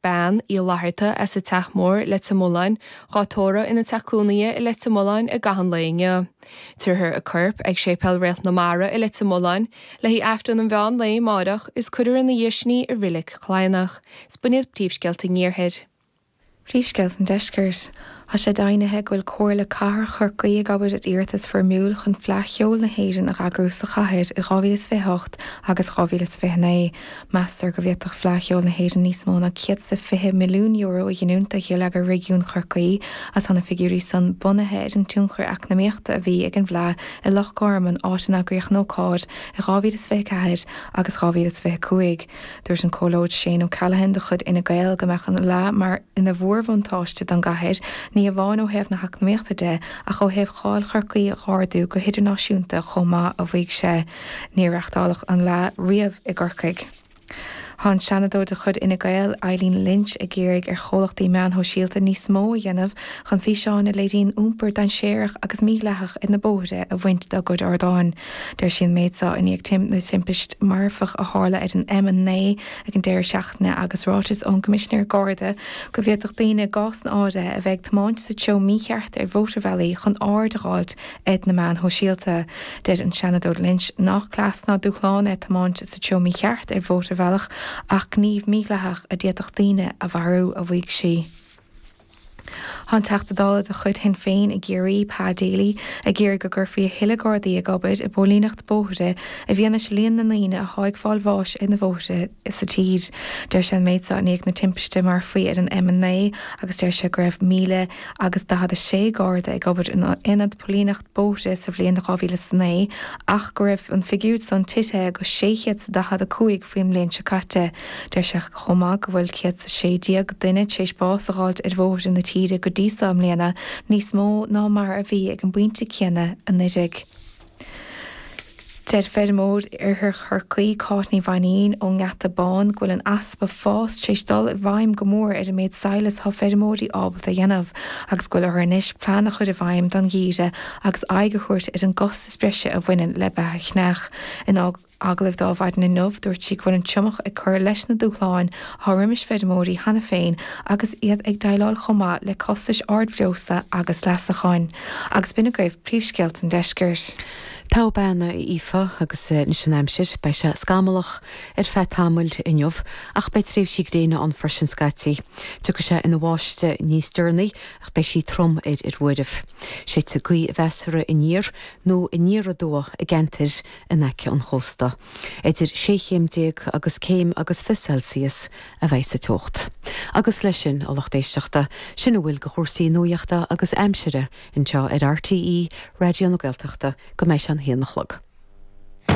Bean Uí Fhlatharta as an Teach Mór, Leitir Mealláin, dhá tórramh ina teach cónaithe i Leitir Mealláin i gcaitheamh an lae inniu. Tabharfar a corp ag Séipéal Réalt na Mara i Leitir Mealláin le haghaidh Aifreann an mheán lae amáireach is cuirfear ina dhiaidh sin í i Reilig Chladhnach. 'S b'in iad príomhscéalta an Iarthair. Príomhscéalta an Deiscirt. Tá sé deimhnithe go bhfuil Comhairle Cathrach Chorcaí ag obair ar iarratas foirmiúil chun Fleadh Cheoil na hÉireann a eagrú sa chathair i 2028 agus 2029. Meastar go bhféadfadh Fleadh Cheoil na hÉireann níos mó ná €120 milliún a ghiniúint do gheilleagar réigiún Chorcaí agus tá na figiúirí san bunaithe ar an tionchar eacnamaíochta a bhí ag an bhFleadh i Loch Garman, áit a n-eagraíodh an ócáid i 2024 agus 2025. Dúirt an Comhairleoir Shane O'Callaghan de chuid Fhine Gael go mbeadh an Fhleadh mar ina mhórbhuntáiste don gcathair, ní amháin ó thaobh na heacnamaíochta de ach ó thaobh cháil Chorcaí a dh'ardú go hidirnáisiúnta chomh maith, a mhaígh sé. Níor reachtáladh an Fhleadh riamh i gCorcaigh. Tá an Seanadóir de chuid Fhine Gael, Eileen Lynch, ag iarraidh ar chomhlachtaí meán shóisialta níos mó a dhéanamh chun físeáin a léiríonn iompar dainséarach agus mídhleathach ar na bóithre a bhaint dá gcuid ardáin. Deir sí an méid seo i ndiaidh na timpist marfach a tharla ar an M9 ag an deireadh seachtaine agus ráiteas ón gCoimisinéir Garda go bhféadfadh daoine i gcásanna áirithe a bheith ag tiomáint sa treo mícheart ar mhótarbhealaí chun aird a dh'fháilt ar na meáin shóisialta. Deir an Seanadóir Lynch nach cleas ná dúshlán é tiomáint sa treo mícheart ar mhótarbhealach ach gníomh mídhleathach a d'fhéadfadh daoine a mharú, a mhaígh sí. Tá an Teachta Dála de chuid Shinn Féin i gCiarraí, Pa Daly, ag iarraidh go gcuirfí a thuilleadh Gardaí ag obair i bpóilíneacht bóithre i bhfianaise líon na ndaoine atá ag fáil bháis ar na bhóithre sa tír. Deir sé an méid seo i ndiaidh na timpiste marfaí ar an M9 agus deir sé go raibh 1,000 agus 46 Garda ag obair in Aonad Póilíneacht Bóithre sa bhliain 2009 ach go raibh an figiúr san tithe go 645 faoin mbliain seo caite. Deir sé chomh maith go bhfuil 116 duine tar éis bás a dh'fháilt ar bhóithre na tíre go dtí so i mbliana, níos mó ná mar a bhí ag an bpointe céanna anuraidh. Deir feirmeoir Oirthear Chorcaí, Cáit Ní Mhainín ón nGeata Bán go bhfuil an easpa fás tar éis dul i bhfeidhm go mór ar an méid sadhlas atá feirmeoirí ábalta a dhéanamh agus go bhfuil orthu anois plean a chur i bhfeidhm don gheimhreadh agus aghaidh a thabhairt ar an gcostas breise a bhaineann le beatha chneach. In agallamh di ar maidin inniu, dúirt sí go bhfuil an triomach ag cur leis na dúshláin atá roimis feirmeoirí cheana féin agus iad ag déileáil chomh maith le costais ard bhreosla agus leasacháin. Agus b'in agaibh príomhscéalta an deiscirt. Togha bean a Aoife agus anois an aimsir. Beidh sé scamallach ar feadh tamaill inniu ach beidh tréimhsí gréine ann freisin scaití. Tiocfaidh sé ina bháisteach níos deireanaí ach beidh sí trom ar ar uairibh. Séidfidh gaoth mheasartha aniar nó aniar aduaidh i gceantair in aice an chósta. Idir sé chéim déag agus céim agus 20 Celsius a bheidh sa teocht. Agus leis sin, a lucht éisteachta, sin a bhfuil de chúrsaí nuaíochta agus aimsire anseo ar RTÉ Raidió na Gaeltachta go mbeidh sé an haon a chlog.